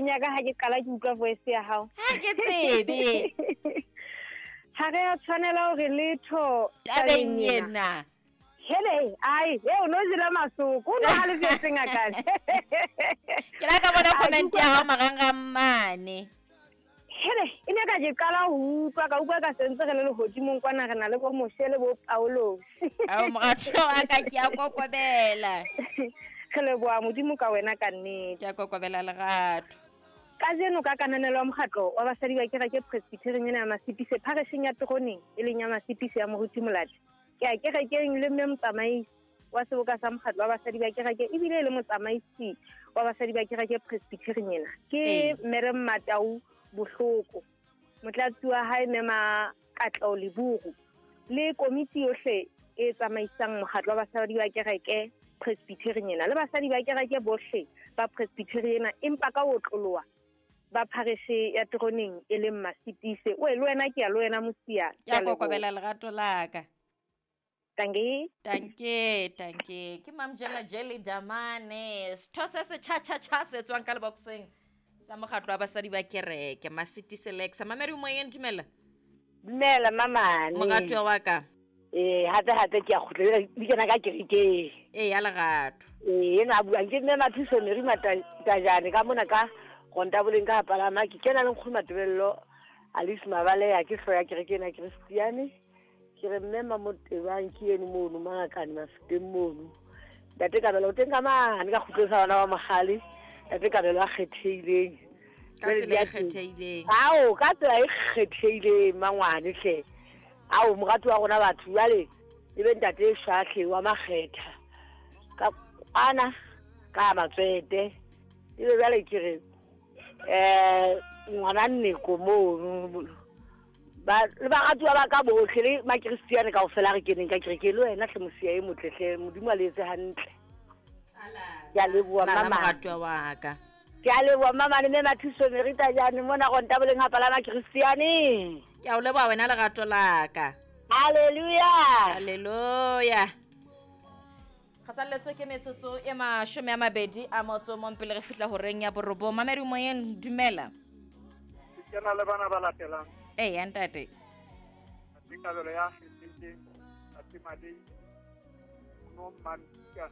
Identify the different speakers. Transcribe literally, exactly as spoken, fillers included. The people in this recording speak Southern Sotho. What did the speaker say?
Speaker 1: Nyaka ha ke qala ke utlwa voice ya hao.
Speaker 2: Ha ke tsebe.
Speaker 1: Ha re a tshwanela hore letho
Speaker 2: tabeng ena.
Speaker 1: Hele, ai, e o no jela masoko, o no halefetseng akane.
Speaker 2: Ke la ka bona comment ya hao marangrang mane.
Speaker 1: Hele, e ne ka ke qala ho utlwa, ka utlwa ka sentse re le lehodimong kwana re na le bo Moshe le bo Paulos.
Speaker 2: Ao morato wa ka ke a kokobela.
Speaker 1: Re leboha Modimo ka wena ka nnete.
Speaker 2: Ke a kokobela lerato.
Speaker 1: Kajeno ka kananelo ya mokgatlo wa basadi ba kereke Presbyterian ena ya Masipise pharesheng ya Teroneng e leng ya Masipise ya Moruti Molati. Ke a kerekeng le mme motsamaisi wa seboka sa mokgatlo wa basadi ba kereke ebile e le motsamaisi wa basadi ba kereke Presbyterian ena. Ke Mme Matau Bohloko, motlatsi wa hae Mme Makatlo Leburu le komiti yohle e tsamaisang mokgatlo wa basadi ba kereke Presbyterian ena le basadi ba kereke bohle ba Presbyterian ena, empa ka ho otloloha ba phareshe ya Teroneng e leng Masipise. O e le wena ke ya le wena Mosia.
Speaker 2: Ke a kokobela lerato la ka.
Speaker 1: Tanke.
Speaker 2: Tanke, tanke. Ke Mamjela Jelly Damane. Setho se se cha cha cha se tswang ka leboxeng sa mokgatlo wa basadi ba kereke Masipise Lexa. Mamedi moyeng, dumela.
Speaker 3: Dumela mamane.
Speaker 2: Moratuwa wa ka.
Speaker 3: Eh, hape hape ke a kgutla di kena ka kerekeng.
Speaker 2: Eh, ya lerato.
Speaker 3: Eh, ena a buang ke mme Mathuso Mary Matajane ka mona ka Rontaboleng ka palama ke kena le nkgono Matebello Alice Mabaleya ke hloya kereke ena Christiane. Ke re mme Mamotebang ke eno mono Mangakane Mafeteng mono. Ntate Kabelo o teng ka mane ka kgutlong sa bana ba Mogale. Ntate Kabelo a kgethehileng.
Speaker 2: Ka tsela e kgethehileng.
Speaker 3: Ao, ka tsela e kgethehileng mangwane hle. Ao morati wa rona batho jwale e be ntate Shahle wa Makgetha. Ka kwana ka Matswete. E be jwale ke re eh ngwana Nneko mono ba le baratuwa ba ka bohle le makristiane kaofela re keneng ka kereke le wena hle Mosia e motle hle Modimo a le etse hantle. Ke a leboha mama.
Speaker 2: Moratuwa wa ka.
Speaker 3: Ke a leboha mama le mme Mathuso Mary Tajane mona Rontaboleng ha palama Kristiane.
Speaker 2: Ke a o leboha wena lerato la ka.
Speaker 3: Hallelujah.
Speaker 2: Hallelujah. Kgasalletswe ke metsotso e mashome a mabedi a motso mong pele re fihla horeng ya borobong. Mamedi moyeng, dumela.
Speaker 4: Ke na le bana ba latelang.
Speaker 2: Eh, ya ntate.
Speaker 4: Ntate Kabelo ya kgethehileng, Ntate Madei, no Mamika.